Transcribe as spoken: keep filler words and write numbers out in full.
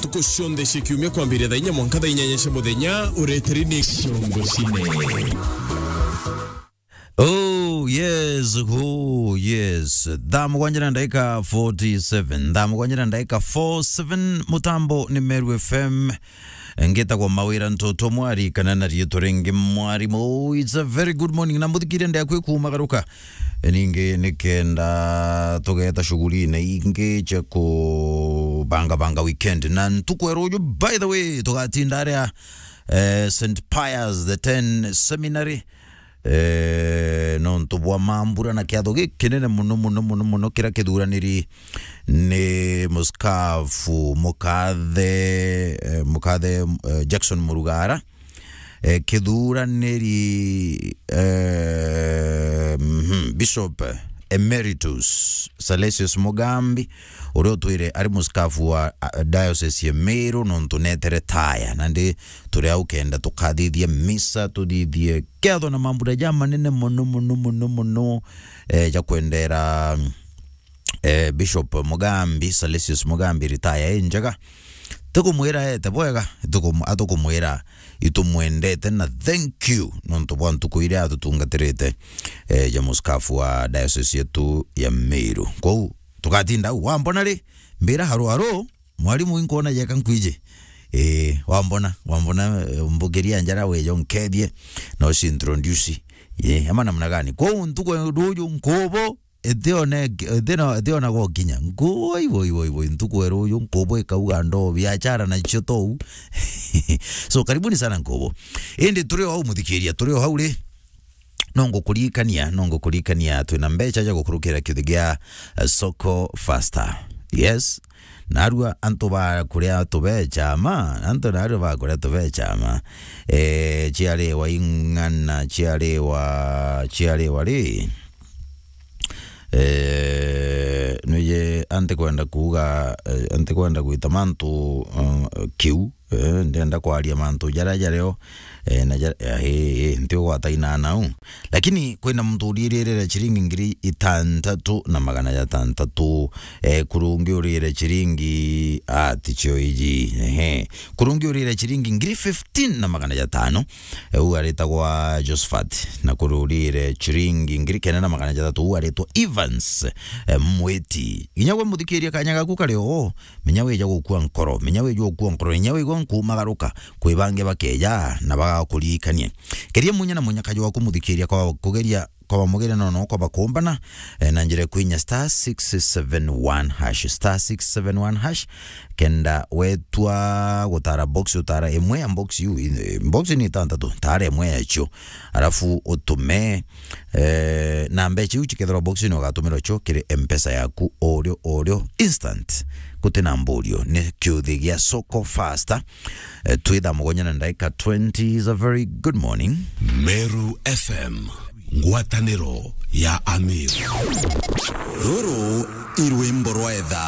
Ntuku cionthe cia kiumia kwambiria thaa inya mwanka thaa inyanya cia muthenya, ureteri ni Ciongo Cine. Oh yes, oh yes. Thaa mugwanja na ndaika forty seven, thaa mugwanja na ndaika forty seven, mutambo ni Meru F M. Ngitagwa Mawira Ntoto Mwari, kana na riitwa ringi Mwarimu. It's a very good morning. Na muthikiria ndea kwi kumagaruka. E, ningi nikenda tugeta shughuli na ingi cia kubangabanga weekend. Na ntuku ya ruju, by the way, tugatinda aria, eh, Saint Pius the ten Seminary, eh, nontu bwa mambura na kiatho gikinene muno, muno, muno, muno, kiria kithuraniri ni muskafu mukathe, eh, mukathe, eh, Jackson Murugara, eh, kithuraniri, eh, mhm, Bishop Emeritus Salesius Mugambi, uria utwire ari muskafu wa, ah, diocese ya Meru, nontu netere taya. Nandi turi au kenda tukathithia misa, tuthithie ketho na mambura ja manene muno, muno, muno, muno, eh, ja kwendera, eh, Bishop Mugambi, Salesius Mugambi, ritaya injega. Tukumwira ete bwega, tukum-, atukumwira itumwendete na thank you nontu bwa ntuku iria atutungatirite, eh, ja muskafu wa diocese yetu ya Meru. Kwou tugatinda au, wambona ri, mbira haro haro, Mwarimu, inkwona jeka nkwiji. Eh, wambona, wambona, eh, mbukiria njara wejo nkethie, na uci introduce. Eh, ama namna gani? Kwou ntuku ya ruju nkubo, itione, itiona, itiona gwa kinya. Nkubo, ibo, ibo, ibo, ntuku ya ruju nkubo ikauga ndo biashara na cio tou. So, karibuni sana nkubo. Indi turi o au muthikiria, turi o au ri. No ngukuririkania, no ngukuririkania twina mbeca ja gukurukira kiuthi gia, eh, Soko Faster. Yes. Narua antu ba kuria tubeca ma, antu narua ba kuria tubeca ma. Eh, ciariwa ing'ana, ciariwa, ciariwa ri. Eh, nwije antikwenda kuuga, eh, antikwenda gwita mantu, eh, kiu. Eh, ndenda kwaria mantu jaria jario, eh, na jaria, eh, eh, eh, nti ugwata inana u. Lakini kwina muntu uriirire ciringi ngiri itantatu na magana jatantatu, eh, kuru ungi uriire ciringi, ah, ticio iji, ehe. Kuru ungi uriire ciringi ngiri fifteen na magana jatano, eh, u aritagwa Josephat, na kuru uriire ciringi ngiri kenda na magana jathatu, u aritwa Evans, eh, Mwiti. Inya gwe muthikiria kanya gaku kari o, menya wija gukua nkoro, menya wija gukua nkoro, inya wigua nkumagaruka, kwi bangi bakeja na bagakuririkania. Keria munya na munya kajo waku muthikiria kwa kugeria, kwa bamugeria no no kwa bakumbana, eh, na njira kwinya star six seven one hash, star six seven one hash, kenda wetwa gutara box, utara imwe ya box yu, i-, box ni itantatu, tara imwe yacio, arafu utume, eh, na mbeca iu cikethirwa box ni ugatumirwa cio kiri M-Pesa yaku orio orio, instant, guti na mburio. Ni kiuthi gia Soko Faster. Eh, twi thaa mugwanja na ndaika twenty. Is a very good morning. Meru F M, ngwataniro ya Amiru. Ruru i rwimbo rwa etha.